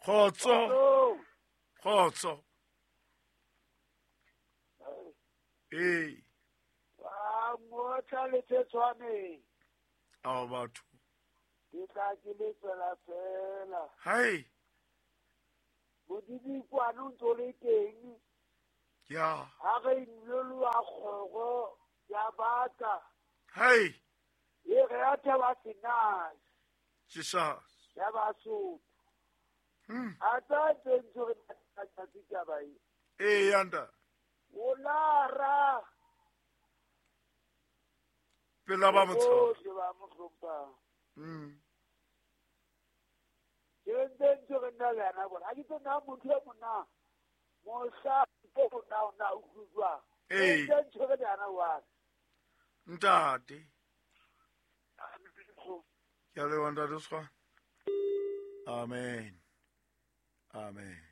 Kgotso. Kgotso. Ee. Ba ngotla le tshwane. Ao batho. Ke tla ke le tswela fela. Hai. Modibikwane o ntse o le teng. Ya. Ha re inoloa kgoro ya baka. Hai. E re ya thaba senase. Jesus. Ya Basotho. A tsa tse ntse re tsatsi taba e. Ee yanda. O lara. Pela ba motshaba. Bohle ba mo hlomphang. Ke ntse ntse re nna le yena bona. Ha ke tsena motho e mona. Mohla o na o na utlwa. Ee. Ntse ntse re le yena wa. Ntate. Ke a leboha ntate Sekgwa. Amen. Amen.